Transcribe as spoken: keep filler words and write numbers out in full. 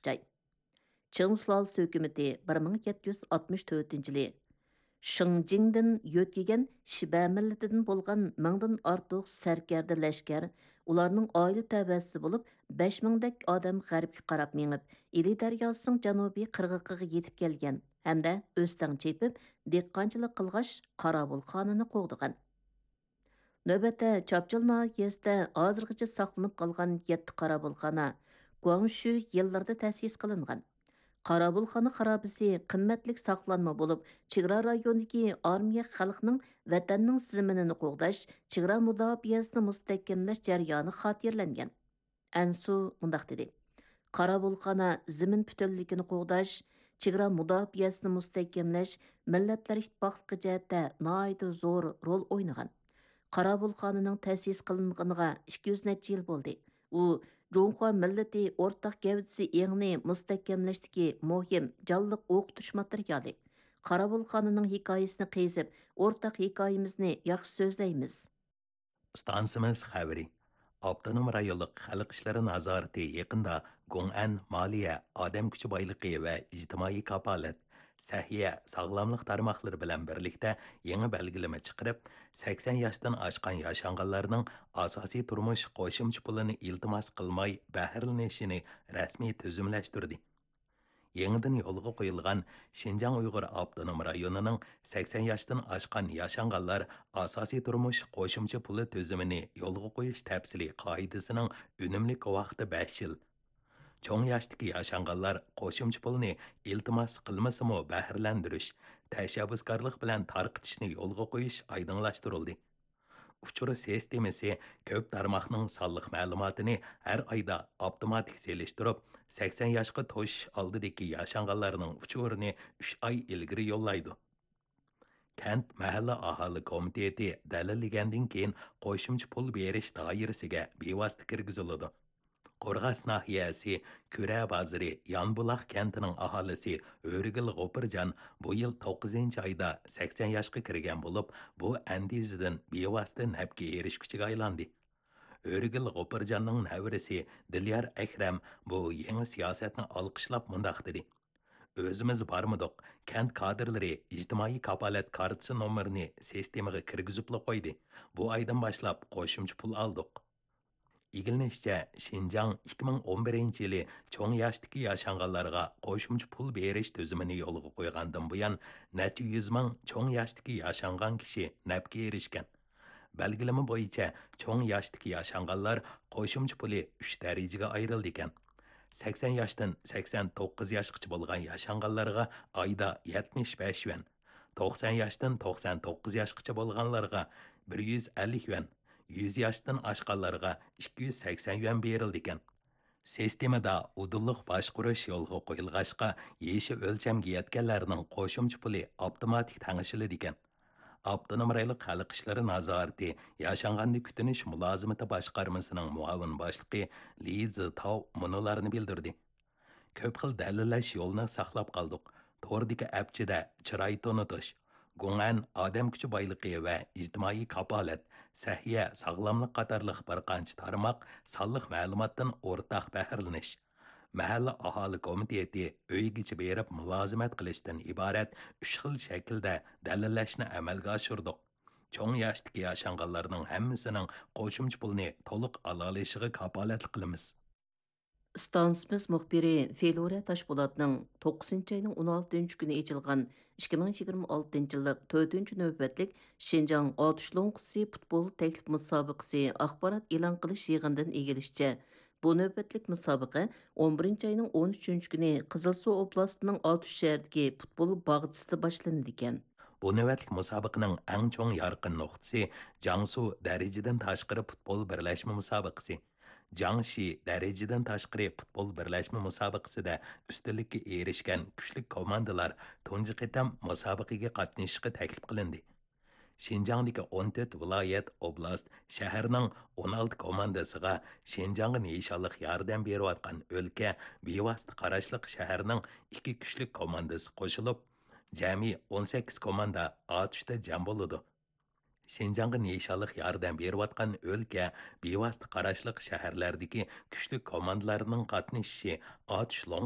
جاي. چىڭ سۇلالىسى ھۆكۈمىتى بىر مىڭ يەتتە يۈز ئاتمىش تۆتىنچى يىلى شىڭجىڭدىن يۆتكىگەن شىبە مىللىتىدىن بولغان مىڭدىن ئارتۇق سەركەردە لەشكەر، ئۇلارنىڭ ئائىلە تەۋەسى بولۇپ، بەش مىڭدەك ئادەم غەربكە قاراپ مېڭىپ، ئىلى دەرياسىنىڭ جەنۇبىي قىرغىقىغا يېتىپ كەلگەن ھەمدە ئۆستەڭ چېپىپ، دېھقانچىلىق قىلغاچ، قاراۋۇلخانىنى قوغدىغان. نۆۋەتتە، چاپچال ناھىيەسىدە ھازىرغىچە ساقلىنىپ قالغان يەتتە قاراۋۇلخانا گۇاڭشۈ يىللىرىدا تەسىس قىلىنغان. قاراۋۇلخانا خارابىسى قىممەتلىك ساقلانما بولۇپ، چېگرا رايونىدىكى ئارمىيە خەلقنىڭ ۋەتەننىڭ زېمىنىنى قوغداش، چېگرا مۇداپىئەسىنى مۇستەھكەملەش جەريانى خاتىرىلەنگەن. ئەنسۇ مۇنداق دېدى: قاراۋۇلخانا زېمىن پۈتۈنلۈكىنى قوغداش، چېگرا مۇداپىئەسىنى مۇستەھكەملەش، مىللەتلەر ئىتتىپاقلىقى جەھەتتە ناھايىتى زور رول ئوينىغان. قاراۋۇلخانىنىڭ تەسىس قىلىنغىنىغا ئىككى يۈز نەچچە يىل بولدى. ئۇ جۇڭخۇا مىللىتى ئورتاق گەۋدىسى ئېڭىنى مۇستەھكەملەشتىكى مۇھىم جانلىق ئوقۇتۇش ماتېرىيالى. قاراۋۇلخانىنىڭ ھېكايىسىنى قېزىپ، ئورتاق ھېكايىمىزنى ياخشى سۆزلەيمىز. ئىستانسىمىز خەۋىرى. ئاپتونوم رايونلۇق خەلق ئىشلىرى نازارىتى يېقىندا گوڭئەن مالىيە، ئادەم كۈچى بايلىقى ۋە ئىجتىمائىي كاپالەت، سەھىيە، ساغلاملىق تارماقلىرى بىلەن بىرلىكتە يېڭى بەلگىلىمە چىقىرىپ، سەكسەن ياشتىن ئاشقان ياشانغانلارنىڭ ئاساسىي تۇرمۇش قوشۇمچە پۇلىنى ئىلتىماس قىلماي بەھرىلىنىشىنى رەسمىي تۈزۈملەشتۈردى. يېڭىدىن يولغا قويۇلغان شىنجاڭ ئۇيغۇر ئاپتونوم رايونىنىڭ سەكسەن ياشتىن ئاشقان ياشانغانلار ئاساسىي تۇرمۇش قوشۇمچە پۇلى تۈزۈمىنى يولغا قويۇش تەپسىلىي قائىدىسىنىڭ ئۈنۈملۈك ۋاقتى بەش يىل. چوڭ ياشتىكى ياشانغانلار قوشۇمچە پۇلنى ئىلتىماس قىلمىسىمۇ بەھرىلەندۈرۈش، تەشەببۇسكارلىق بىلەن تارقىتىشنى يولغا قويۇش ئايدىڭلاشتۇرۇلدى. ئۇچۇر سىستېمىسى كۆپ تارماقنىڭ سانلىق مەلۇماتىنى ھەر ئايدا ئاپتوماتىك سېلىشتۇرۇپ، سەكسەن ياشقا توشۇش ئالدىدىكى ياشانغانلارنىڭ ئۇچۇرىنى ئۈچ ئاي ئىلگىرى يوللايدۇ. كەنت، مەھەللە ئاھالە كومىتېتى دەلىللىگەندىن كېيىن، قوشۇمچە پۇل بېرىش دائىرىسىگە بىۋاسىتە كىرگۈزۈلىدۇ. قورغاس ناھىيەسى كۈرە بازىرى يانبۇلاق كەنتىنىڭ ئاھالىسى ئۆرىگۈل غوپۇرجان بۇ يىل توققۇزىنچى ئايدا سەكسەن ياشقا كىرگەن بولۇپ، بۇ ئەندىزىدىن بىۋاسىتە نەپكە ئېرىشكۈچىگە ئايلاندى. ئۆرىگۈل غوپۇرجاننىڭ نەۋرىسى دىليار ئەكرەم بۇ يېڭى سىياسەتنى ئالقىشلاپ مۇنداق دېدى: «ئۆزىمىز بارمىدۇق، كەنت كادىرلىرى ئىجتىمائىي كاپالەت كارتىسى نومۇرىنى سىستېمىغا كىرگۈزۈپلا قويدى. بۇ ئايدىن باشلاپ قوشۇمچە پۇل ئالدۇق.» ئىگىلىنىشىچە، شىنجاڭ ئىككى مىڭ ئون بىرىنچى يىلى چوڭ ياشتىكى ياشانغانلارغا قوشۇمچە پۇل بېرىش تۈزۈمىنى يولغا قويغاندىن بۇيان، نەچچە يۈز مىڭ چوڭ ياشتىكى ياشانغان كىشى نەپكە ئېرىشكەن. بەلگىلىمە بويىچە، چوڭ ياشتىكى ياشانغانلار قوشۇمچە پۇلى ئۈچ دەرىجىگە ئايرىلىدىكەن. سەكسەن ياشتىن سەكسەن توققۇز ياشقىچە بولغان ياشانغانلارغا ئايدا يەتمىش بەش يۈەن، توقسان ياشتىن توقسان توققۇز ياشقىچە بولغانلارغا بىر يۈز ئەللىك يۈەن، يۈز ياشتىن ئاشقانلارغا ئىككى يۈز سەكسەن يۈەن بېرىلىدىكەن. سىستېمىدا ئۇدۇللۇق باشقۇرۇش يولغا قويۇلغاچقا، يېشى ئۆلچەمگە يەتكەنلەرنىڭ قوشۇمچە پۇلى ئاپتوماتىك تەڭشىلىدىكەن. ئاپتونوم رايونلۇق خەلق ئىشلىرى نازارىتى ياشانغاننى كۈتۈنۈش مۇلازىمىتى باشقارمىسىنىڭ مۇئاۋىن باشلىقى لى زىتاۋ مۇنۇلارنى بىلدۈردى. كۆپ خىل دەلىللەش يولىنى ساقلاپ قالدۇق. توردىكى ئەپچىدە چىراي تونۇتۇش، گۇڭئەن ئادەم كۈچى بايلىقى ۋە ئىجتىمائىي كاپالەت، سەھىيە، ساغلاملىق قاتارلىق بىر قانچە تارماق سانلىق مەلۇماتتىن ئورتاق بەھرىلىنىش، مەھەللە ئاھالە كومىتېتى ئۆيگىچە بېرىپ مۇلازىمەت قىلىشتىن ئىبارەت ئۈچ خىل شەكىلدە دەلىللەشنى ئەمەلگە ئاشۇردۇق. چوڭ ياشتىكى ياشانغانلارنىڭ ھەممىسىنىڭ قوشۇمچە پۇلنى تولۇق ئالالىشىغا كاپالەتلىك قىلىمىز. ئىستانسىمىز مۇخبىرى فلورە تاشپولاتنىڭ توققۇزىنچى ئاينىڭ ئون ئالتىنچى كۈنى ئېچىلغان ئىككى مىڭ يىگىرمە ئالتىنچى يىللىق تۆتىنچى نۆۋەتلىك شىنجاڭ ئاتۇش لوڭقىسى پۇتبول تەكلىپ مۇسابىقىسى ئاخبارات ئېلان قىلىش يىغىنىدىن ئىگىلىشىچە، بۇ نۆۋەتلىك مۇسابىقە ئون بىرىنچى ئاينىڭ ئون ئۈچىنچى كۈنى قىزىلسۇ ئوبلاستىنىڭ ئاتۇش شەھىرىدىكى پۇتبول باغچىسىدا باشلىنىدىكەن. بۇ نۆۋەتلىك مۇسابىقىنىڭ ئەڭ چوڭ يارقىن نۇقتىسى جياڭسۇ دەرىجىدىن تاشقىرى پۇتبول بىرلەشمە مۇسابىقىسى. جياڭشى دەرىجىدىن تاشقىرى پۇتبول بىرلەشمە مۇسابىقىسىدە ئۈستۈنلۈككە ئېرىشكەن كۈچلۈك كوماندىلار تۇنجى قېتىم مۇسابىقىگە قاتنىشىشقا تەكلىپ قىلىندى. شىنجاڭدىكى ئون تۆت ۋىلايەت، ئوبلاست، شەھەرنىڭ ئون ئالتە كوماندىسىغا شىنجاڭغا نىشانلىق ياردەم بېرىۋاتقان ئۆلكە بىۋاسىتە قاراشلىق شەھەرنىڭ ئىككى كۈچلۈك كوماندىسى قوشۇلۇپ، جەمئىي ئون سەككىز كوماندا ئاتۇشتا جەم بولىدۇ. شىنجاڭغا نىشانلىق ياردەم بېرىۋاتقان ئۆلكە بىۋاسىتە قاراشلىق شەھەرلەردىكى كۈچلۈك كوماندىلارنىڭ قاتنىشىشى ئاتۇش